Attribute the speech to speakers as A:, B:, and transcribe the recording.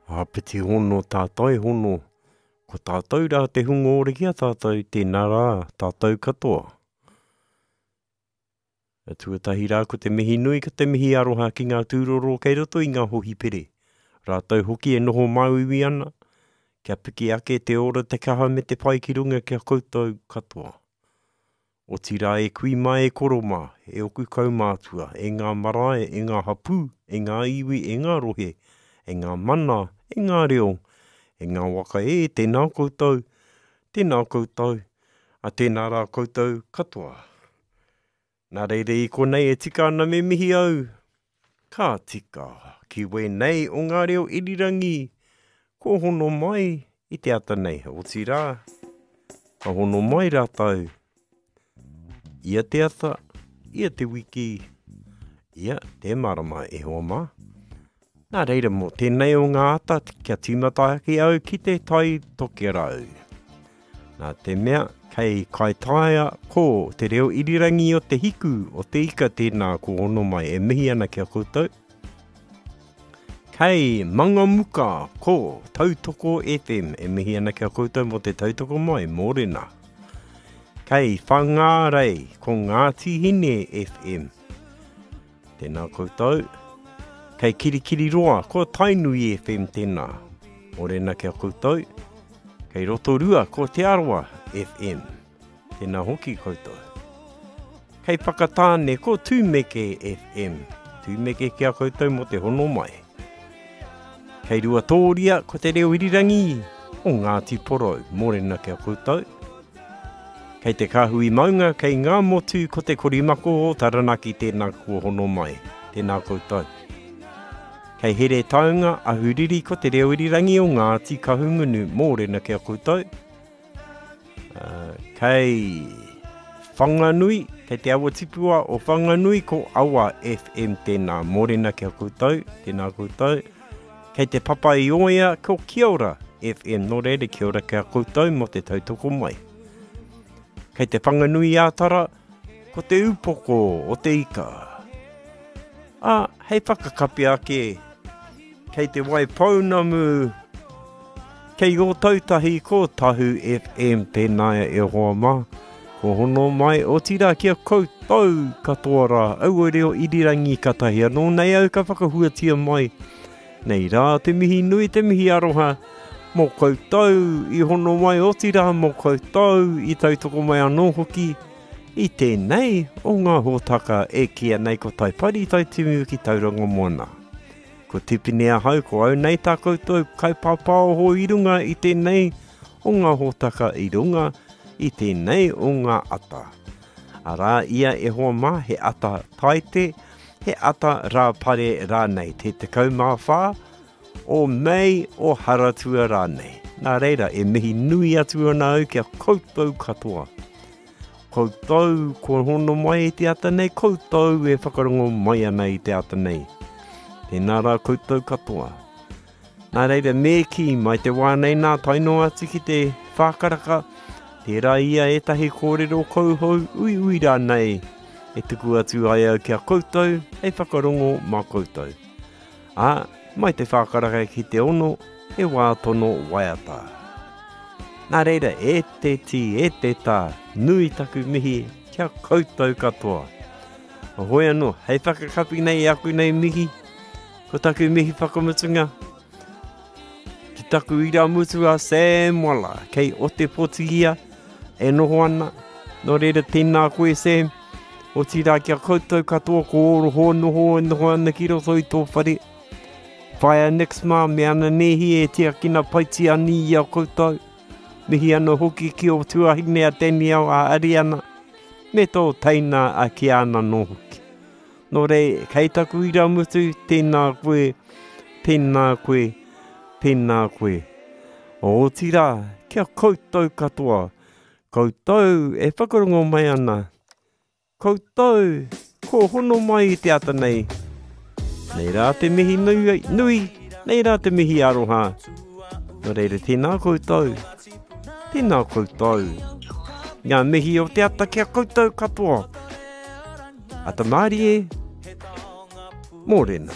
A: Āpiti hono tātai hono, ko tātou rā te hunga ora ki a tātou, tēnā rā tātou katoa. Tuatahi rā ko te mihi nui, ko te mihi aroha ki ngā tūroro kei roto i ngā hohipere. Rātou hoki e noho māuiui ana, kia piki ake te ora, te kaha me te pai ki runga ki a koutou katoa. Otirā e kui mā e koro mā, e oku kaumātua, e ngā marae, e ngā hapū, e ngā iwi, e ngā rohe, e ngā mana, e ngā reo, e ngā waka e, tēnā koutou, tēnā koutou, a tēnā rā koutou katoa. Nā reira i konei e tika ana me mihi au, ka tika, ki wēnei o ngā reo irirangi, kua hono mai i te ata nei, otirā, ka hono mai rātou ia te ata, ia te wiki, ia te marama e hoa mā. Nā reira mō tēnei o ngā ata kia tīmata ake au ki te Tai Tokerau. Nā te mea kei Kaitaia ko te reo irirangi o te hiku o te ika tēnā ko hono mai e mihi ana ki a koutou. Kei Mangamuka ko Tautoko FM e mihi ana ki a koutou mō te tautoko mai, mōrena. Kei Whangārei ko Ngāti Hine FM. Tēnā koutou. Kei Kirikiriroa, ko Tainui FM tēnā. Mōrena ki a koutou. Kei Rotorua, ko Te Arawa FM. Tēnā hoki koutou. Kei Whakatāne, ko Tūmeke FM. Tūmeke ki a koutou mō te hono mai. Kei Ruatōria, ko Te Reo Irirangi o Ngāti Porou. Mōrena ki a koutou. Kei te kāhui maunga, kei ngā motu ko te korimako o Taranaki tēnā kua hono mai. Tēnā koutou. Kei Heretaunga, Ahuriri ko te reo irirangi o Ngāti Kahungunu, mōrena ki a koutou. Uh, kei Whanganui, kei te awa tipua o Whanganui ko Awa FM tēnā, mōrena ki a koutou, tēnā koutou. Kei te papa i oia ko Kia ora FM, nō reira kia ora ki a koutou mō te tautoko mai. Kei te Whanganui-ā-Tara, ko te upoko o te ika. Ā, hei whakakapi ake, kei te Waipounamu, kei Ōtautahi ko Tahu FM tēnā e hoa mā. Ko hono mai, otirā ki a koutou katoa rā, aua reo irirangi katahi anō nei au ka whakahuatia mai. Nei rā te mihi nui, te mihi aroha mō koutou i hono mai, otirā mō koutou i tautoko mai anō hoki i tēnei o ngā hōtaka e kīia nei ko Taipari Taitimu ki Tauranga Moana. Ko Tipene ahau, ko au nei tā koutou kaipāpāoho i runga i tēnei o ngā hōtaka i runga i tēnei o ngā ata. Arā ia e hoa mā, he ata Taite, he ata Rāpare rānei, te 14 o Mei o Haratua rānei. Nā reira, e mihi nui atu ana au ki a koutou katoa. Koutou kua hono mai i te ata nei, koutou e whakarongo mai ana i te ata nei. Tēnā rā koutou katoa. Nā reira, me kī, mai te wā nei nā tae noa atu ki te whākaraka, tērā ia ētahi kōrero kouhou uiui rānei e tuku atu ai au ki a koutou hei whakarongo mā koutou. Ā, mai te whākaraka ki te ono, he wā tono waiata. Nā reira, e te tī, e te tā, nui taku mihi ki a koutou katoa. Hoi anō, hei whakakapi nei i aku nei mihi, Ko taku mihi whakamutunga ki taku irāmutu a Sam Walla, kei Otepoti ia e noho ana. Nō reira, tēnā koe Sam, otirā ki a koutou katoa ko ō hoa noho e noho ana ki roto i tō whare. Whaea Nix mā me ana nēhi e tiakina paitia ani i a koutou. Mihi ana hoki ki ō tuahine a Danielle a Ariana me tō teina a Kiana nō hoki. Nō reira, kei taku irāmutu, tēnā koe, tēnā koe, tēnā koe. Otirā, ki a koutou katoa, koutou e whakarongo mai ana, koutou kua hono mai i te ata nei, nei rā te mihi nui, nui, nei rā te mihi aroha. Nō reira, tēnā koutou, tēnā koutou. Ngā mihi o te ata ki a koutou katoa. Ata mārie, mōrena.